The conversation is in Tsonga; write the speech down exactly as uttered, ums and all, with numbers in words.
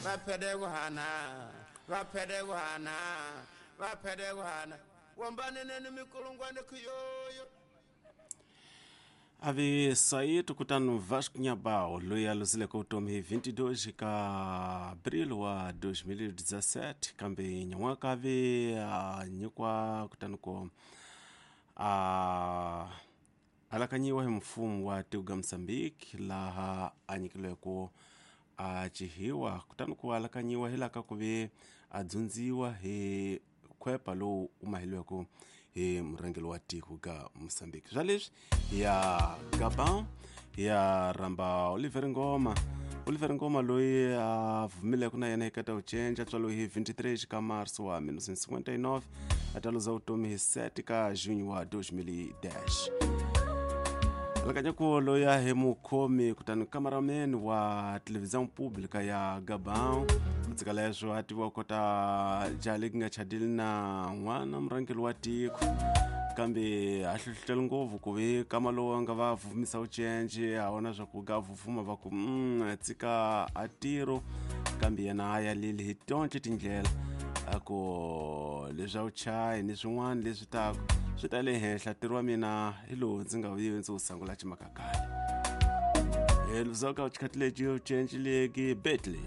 Vaphedegwana vaphedegwana vaphedegwana wambaneneni mikulungwane kuyoyo. Ave saído kutani Vasco Nhabao loyi a luzileke vutomi hi vinte e dois ka abril wa dois mil e dezessete, kambe nyan'waka ave a nyikiwa kutani ko a alakanyiwa hi mfumo wa tiko ga Mozambique, laha a nyikilweko a cihiwa kutani ku alakanyiwa hi laha ka ku ve a dzundziwa hi khwepa lowu u mahilweko hi murhangeri wa tiko ga Mozambique. Swa leswi hi ya Gabon, hi ya rhamba Oliver Ngoma. Oliver Ngoma loyi a vumileke na yena eka ta ucenca, tswaliwe hi vinte e três ka março wa mil novecentos e cinquenta e nove, a ta luza vutomi hi sete ka junho wa dois mil e dez. Alakanya ku loyi a hi mukhomi kutani cameraman wa televisão pública ya Gabão. Ku tshika leswo a tiviwa kota jaha leki nga chadile na n'wana murhangeri wa tiko, kambe a hlohlotela ngopfu ku ve kama lowu a nga va vumisa ucence a vona swa ku ga vuvuma va ku mm, tshika a tiro, kambe yena a yalile hi tonke tindlela, a ku leswi a wu chayi ni swin'wana leswi taku swi ta le henhla, ntirho wa mina hi lowu ndzi nga vuyiwi ndzi wu sungula ximakakale. Hi luzaka xikhathi lexi ucenci leki betley.